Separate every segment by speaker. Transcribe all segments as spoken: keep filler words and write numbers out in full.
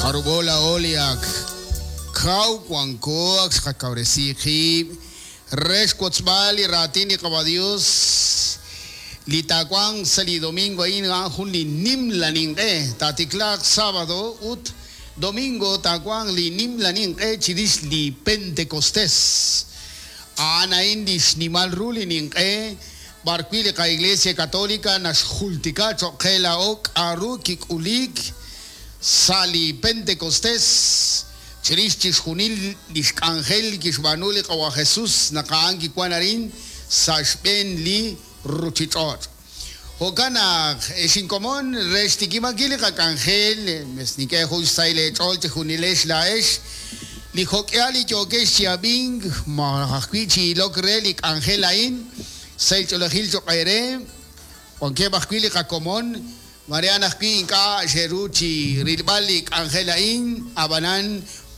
Speaker 1: Jarub'o laa'o li ak kaw wanko ak xqakawresi qib' re xwotzb'al li raatin li Qaawa' Dios li taawanq sa' li domingo a'in a'an jun li nimla ninq'e taatiklaaq sábado ut domingo taawanq li nimla ninq'e chirix li Pentecostés a'an a'in li xnimal ru li ninq'e b'arwi' li qa-Iglesia Católica naxjultika cho'q qe laa'o k'aru kik'ulik sa' li Pentecostés chirix chixjunil li xk'anjel kixb'aanu li Qaawa' Jesús naq a'an kiwan arin sa' xb'een li ruchich'och'. Jo'kan naq ex inkomon re xtikib'ankil li qak'anjel mes nink'e jun xsahil eech'ool chijunilex laa'ex li jok'ihal li yookex chi ab'ink malaj ajwi' chi ilok re li k'anjel a'in sahil ch'oolejil cho'q eere wankeb' ajwi' li qakomon Marian ajwi' ink'a' xe'ru chi rilb'al li k'anjel a'in ab'anan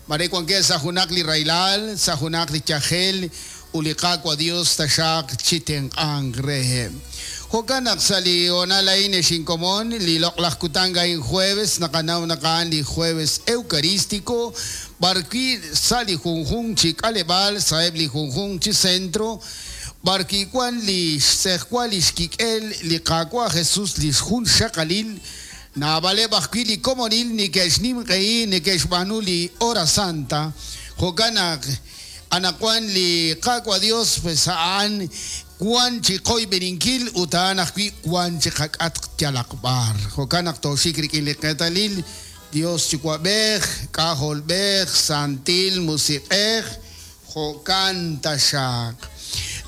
Speaker 1: mare wankeb' sa' junaq li rahilal sa' junaq li yajel ut li Qaawa' Dios taxaq chi tenq'anq reheb'. Jo'kan naq sa' li hoonal a'in ex inkomon li loq'laj kutan a'in jueves naqanaw naq a'an li jueves eucarístico b'arwi' sa' li junjunq chi k'aleb'aal sa'eb' li junjunq chi centro b'arwi' wan li xtz'ejwal li xkik'el li Qaawa' Jesús li xjun xaqalil naab'aleb' ajwi' li komonil neke'xnimq'ehi neke'xb'aanu li hora santa jo'kan naq anaqwan li Qaawa' Dios pues a'an wan chi qoyb'eninkil ut a'an ajwi' wan chi qak'atq yalaq b'ar jo'kan naq tooxik rik'in li qeetalil Dios Yuwa'b'ej K'ajolb'ej Santil Musiq'ej jo'kan taxaq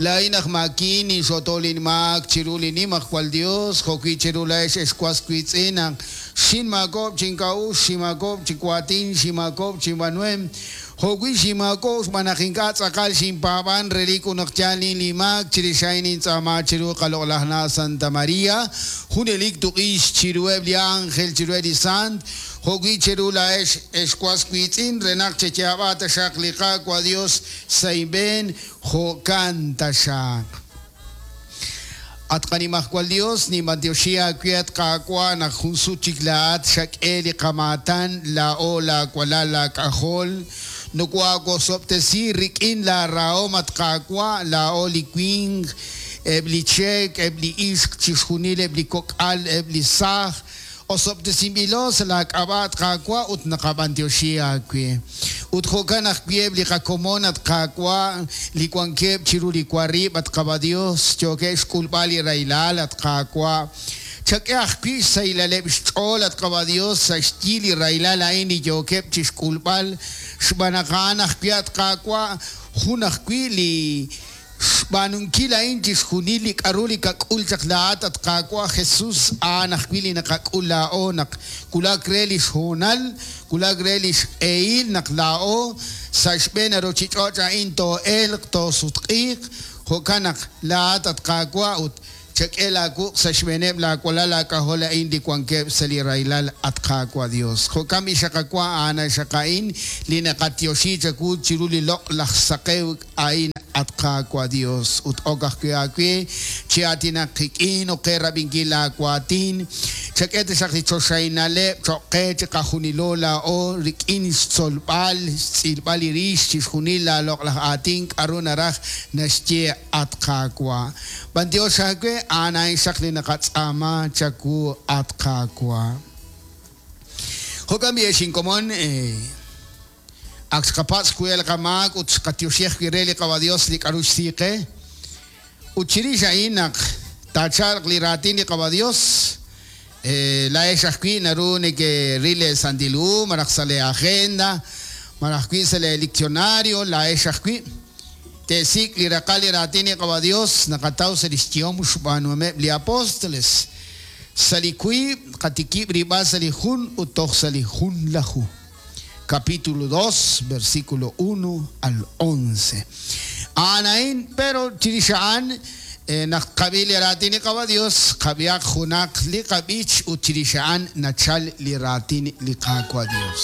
Speaker 1: Laa'in aj maakin inxootol inmaak chiru li nimajwal Dios jo'wi' chiru laa'ex ex was wiitz'in naq xinmaakob' chink'a'uxl xinmaakob' chi waatin xinmaakob' chinb'aanuhem jo'wi' xinmaakob' xb'aan naq ink'a' tz'aqal xinpaab'an relik ut naq yaal nin li maak chirix a'in nintz'aama chiru qaloq'laj na' Santa María junelik tuq'ix chiruheb' li ángel chiruheb' li sant jo'wi' chiru laa'ex ex was wiitz'in re naq cheyaab'a taxaq li Qaawa' Dios sa' inb'een jo'kan taxaq. At qanimajwal Dios ninb'antioxi aawe at Qaawa' naq jun sut chik laa'at xak'e li qamaatan laa'o laawalal laak'ajol nokoaawosob'tesi rik'in laarahom at Qaawa' laa'o li winq eb' li cheek eb' li ixq chixjunil eb' li kok'al eb' li saaj osob'tesinb'ilo sa' laak'ab'a' at Qaawa' ut naqab'antioxi aawe ut jo'kan ajwi' eb' li qakomon at Qaawa' li wankeb' chiru li warib' at Qaawa' Dios yookeb' xk'ulb'al li rahilal at Qaawa' chak'e ajwi' xsahilaleb' xch'ool at Qaawa' Dios sa' xyi li rahilal a'in li yookeb' chixk'ulb'al xb'aan naq a'an ajwi' at Qaawa' jun ajwi' li xb'aanunkil a'in chixjunil li k'aru li kak'ul chaq laa'at at Qaawa' Jesús a'an ajwi' li naqak'ul laa'o naq wulak re li xhoonal wulak re li xq'ehil naq laa'o sa' xb'een ruchich'och' a'in too'elq toosutq'iiq jo'kan naq laa'at at Qaawa' ut chak'e laawuq' sa' xb'eeneb' laawalal laak'ajol a'in li wankeb' sa' li rahilal at Qaawa' Dios jo'kan b'i xaqawa' a'an xaq a'in li naqatioxi chawu chiru li loq'laj saqew a'in at Qaawa' Dios ut ok ajwi' aawe chi aatinaq qik'in ut qe rab'inkil laawaatin chak'e taxaq li choxahinaleb' cho'q qe chiqajunilo laa'o rik'in xtzolb'al xtz'ilb'al li rix chixjunil laaloq'laj aatin k'aru naraj naxye at Qaawa' b'antiox aawe a'an a'in xaq li naqatz'aama chawu at Qaawa' jo'kan b'i ex inkomon eh, ak xqapatz' wi' li qamaak ut xqatioxi ajwi' re li Qaawa' Dios li k'aru xsiiqe ut chirix a'in naq taachalq li raatin li Qaawa' Dios eh, laa'ex ajwi' naru nekeril le Santil Hu malaj sa' le agenda malaj ajwi' sa' le diccionario laa'ex ajwi' te'sik' li raqal li raatin li Qaawa' Dios naqataw sa' li xyehom xb'aanuhomeb' li apóstoles sa' li wiib' qatikib' rib'al sa' li jun ut toj sa' li jun laju capítulo dos, versículo uno al once. A'an pero chirix a'an eh, naq qab'i li raatin li Qaawa' Dios qab'ihaq junaq li qab'ich ut chirix a'an nachal li raatin li Qaawa' Dios.